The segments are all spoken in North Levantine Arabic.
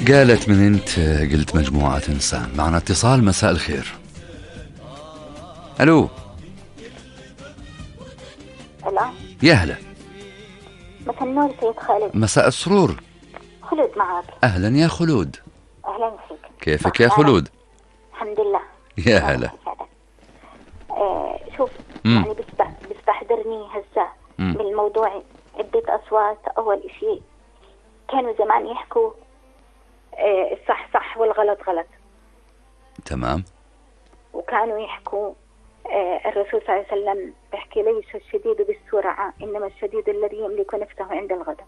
قالت من انت قلت مجموعة انسان. معنا اتصال. مساء الخير. الو. هلا. يا هلا. مساء النور سيد خالد. مساء السرور. خلود معك. اهلا يا خلود. اهلا فيك. كيفك يا خلود؟ الحمد لله. يا هلا. شوف يعني بيستحضرني هسه بالموضوع عدة أصوات. أول إشي كانوا زمان يحكوا الصح صح والغلط غلط. تمام. وكانوا يحكوا الرسول صلى الله عليه وسلم بيحكي ليس الشديد بالسرعة إنما الشديد الذي يملك نفسه عند الغضب.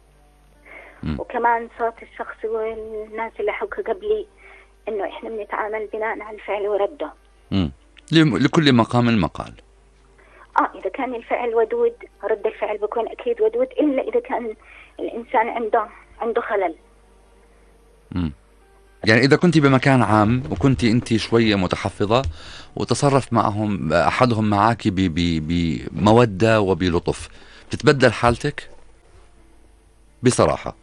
وكمان صوت الشخص والناس اللي حكوا قبلي إنه إحنا بنتعامل بناء على الفعل ورده. لكل مقام مقال. إذا كان الفعل ودود رد الفعل بيكون أكيد ودود، إلا إذا كان الإنسان عنده خلل. يعني إذا كنت بمكان عام وكنت أنت شوية متحفظة وتصرف معهم أحدهم معك بمودة وبلطف، بتتبدل حالتك بصراحة؟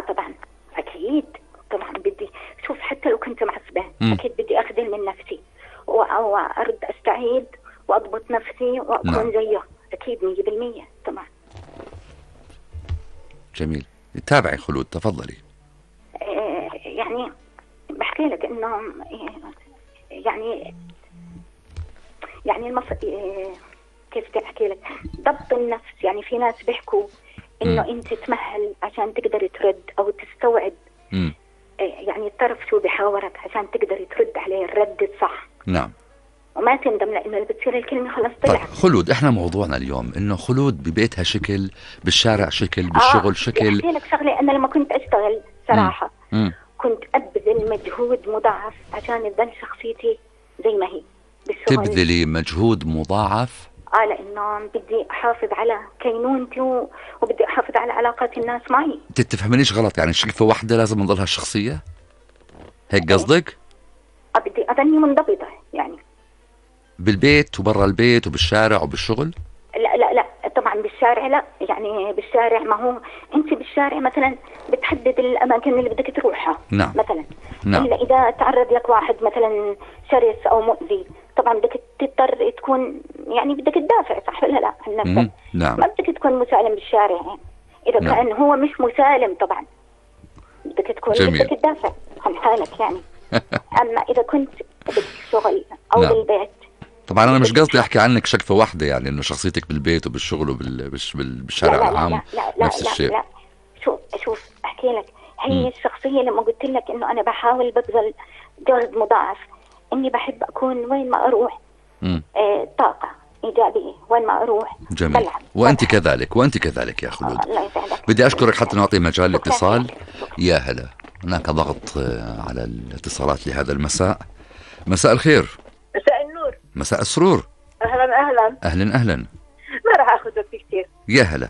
طبعا أكيد طبعا. بدي شوف حتى لو كنت معصبة أكيد بدي أخذل من نفسي وأرد أستعيد وأضبط نفسي وأكون زيه. أكيد 100% طبعا. جميل. تابعي خلود، تفضلي. يعني بحكي لك إنه يعني كيف بدي أحكي لك، ضبط النفس. يعني في ناس بيحكوا إنه أنت تمهل عشان تقدر ترد أو تستوعب يعني الطرف شو بيحاورك عشان تقدر ترد عليه الرد الصح. نعم. وما تندم لأنه بتصير الكلمة خلاص طلعت. طيب خلود، احنا موضوعنا اليوم انه خلود ببيتها شكل، بالشارع شكل، بالشغل شكل. احكي لك شغلة، انا لما كنت اشتغل صراحة كنت ابذل مجهود مضاعف عشان تضل شخصيتي زي ما هي بالشغل. تبذلي مجهود مضاعف؟ لانه بدي احافظ على كينونتي وبدي احافظ على علاقات الناس معي. تتفهمنيش غلط، يعني شقفة واحدة لازم نضلها الشخصية؟ هيك قصدك؟ بدي اظني منضبطة يعني بالبيت وبرا البيت وبالشارع وبالشغل؟ لا طبعا بالشارع لا. يعني بالشارع ما هو انت بالشارع مثلا بتحدد الاماكن اللي بدك تروحها. نعم. مثلا نعم. الا اذا تعرض لك واحد مثلا شرس او مؤذي طبعا بدك تضطر تكون يعني بدك تدافع، صح ولا لا عن نفسك؟ نعم. ما بدك تكون مسالم بالشارع يعني. اذا نعم. كان هو مش مسالم طبعا بدك تكون جميل. بدك تدافع عن حالك يعني. اما اذا كنت بالشغل او نعم. بالبيت طبعا انا مش قصدي احكي عنك شقفة واحدة، يعني انه شخصيتك بالبيت وبالشغل وبالشارع العام نفس الشيء. لا شوف احكي لك، هي الشخصية لما قلت لك انه انا بحاول ببذل جهد مضاعف، اني بحب اكون وين ما اروح طاقة ايجابية، وين ما اروح جميل. بلعب. وانت كذلك يا خلود. الله يسعدك. بدي اشكرك حتى نعطي مجال للاتصال. يا هلا. هناك ضغط على الاتصالات لهذا المساء. مساء الخير. مساء النور. مساء السرور. اهلا. ما راح اخذ وقت كثير. يا هلا.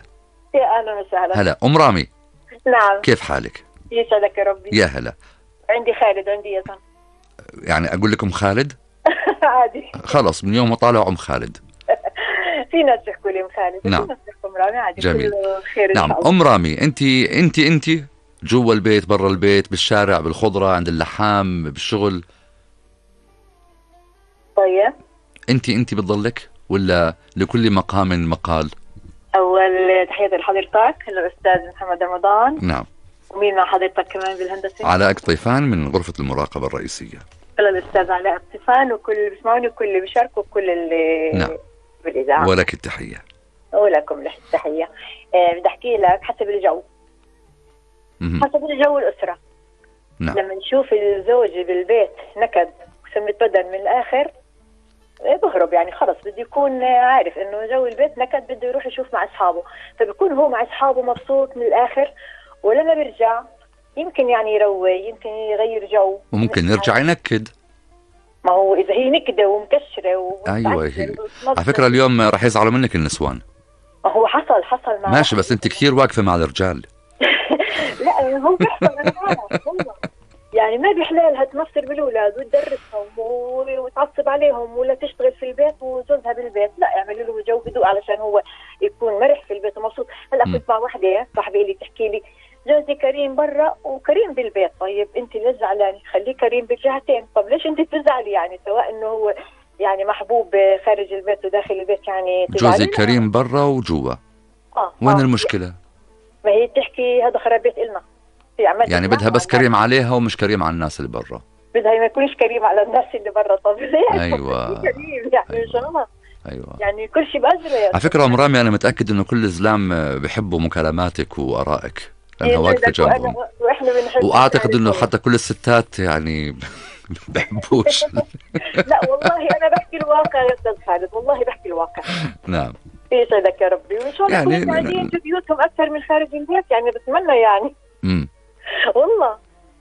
يا اهلا وسهلا. هلا ام رامي. نعم. كيف حالك؟ يسعدك يا ربي. يا هلا. عندي خالد وعندي يزن. يعني اقول لكم خالد؟ عادي. خلص من يوم ما طالع ام خالد. في ناس يحكوا لي ام خالد. نعم. في ناس يحكوا ام رامي. عادي. جميل. خير. نعم ام رامي، انت جوا البيت برا البيت بالشارع بالخضرة عند اللحام بالشغل. طيب انت بتضلك ولا لكل مقام مقال؟ اول تحية لحضرتك الاستاذ محمد رمضان. نعم. ومين مع حضرتك كمان بالهندسة؟ علاء قطيفان من غرفة المراقبة الرئيسية. الاستاذ علاء قطيفان وكل اللي بيسمعوني وكل اللي بيشاركوا وكل اللي نعم بالاذاعة. ولك التحية. ولكم التحية. بدي احكي لك حسب الجو. حسب الجو الأسرة. نعم. لما نشوف الزوج بالبيت نكد وسمة بدن من الآخر بهرب، يعني خلص بده يكون عارف إنه جو البيت نكد، بده يروح يشوف مع أصحابه، فبيكون هو مع أصحابه مبسوط من الآخر، ولما بيرجع يمكن يعني يروي، يمكن يغير جو، وممكن يرجع ينكد. ما هو إذا هي نكدة ومكشرة أيوة هي. على فكرة اليوم رح يزعلوا منك النسوان. ما هو حصل مع ماشي، بس أنت كثير واقفة مع الرجال. لا هو بيحصل. أنا عارف والله. يعني ما بيحلالها تمصر بالأولاد وتدرسهم وتعصب عليهم ولا تشتغل في البيت وزوجها بالبيت، لا يعملوا له جو هدوء علشان هو يكون مرح في البيت ومبسوط. هلا كنت مع وحدة صاحبي لي تحكي لي جوزي كريم برا وكريم بالبيت. طيب انت ليش زعلانه؟ خليه كريم بالجهتين. طب ليش انت بتزعلي يعني؟ سواء انه هو يعني محبوب خارج البيت وداخل البيت، يعني جوزي كريم برا وجوا، وين المشكلة؟ ما هي بتحكي هذا خراب بيت إلنا، يعني بدها بس كريم عليها ومش كريم على الناس اللي برا. بدها ما يكونش كريم على الناس اللي برا. طب ليه؟ أيوة. كريم يعني إن شاء الله. أيوة. يعني كل شيء بأجره. على فكرة أم رامي، أنا متأكد إنه كل الزلام بحبوا مكالماتك وآرائك لأنها واقفة جنبهم، وأعتقد إنه حتى كل الستات يعني بحبوش. لا والله أنا بحكي الواقع يا أستاذ خالد، والله بحكي الواقع. نعم. يسعدك يا ربي، وإن شاء الله يعني يكونوا قاعدين في بيوتهم أكثر من خارج البيت، يعني بتمنى يعني. والله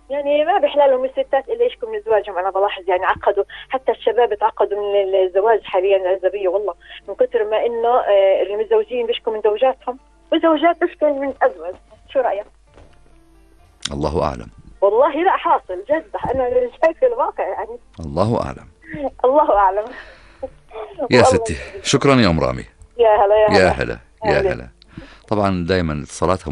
يعني ما بيحلالهم الستات إلا يشكوا من زواجهم. أنا بلاحظ يعني عقدوا، حتى الشباب تعقدوا من الزواج حاليا العزبية، والله من كثر ما إنه المتزوجين بيشكوا من زوجاتهم والزوجات بيشكوا من أزواج. شو رأيك؟ الله أعلم. والله لا حاصل جد، أنا شايف الواقع يعني. الله أعلم. الله أعلم. يا ستي شكرا يا أم رامي. يا هلا يا هلا يا هلا يا هلا. طبعا دائما اتصالاتها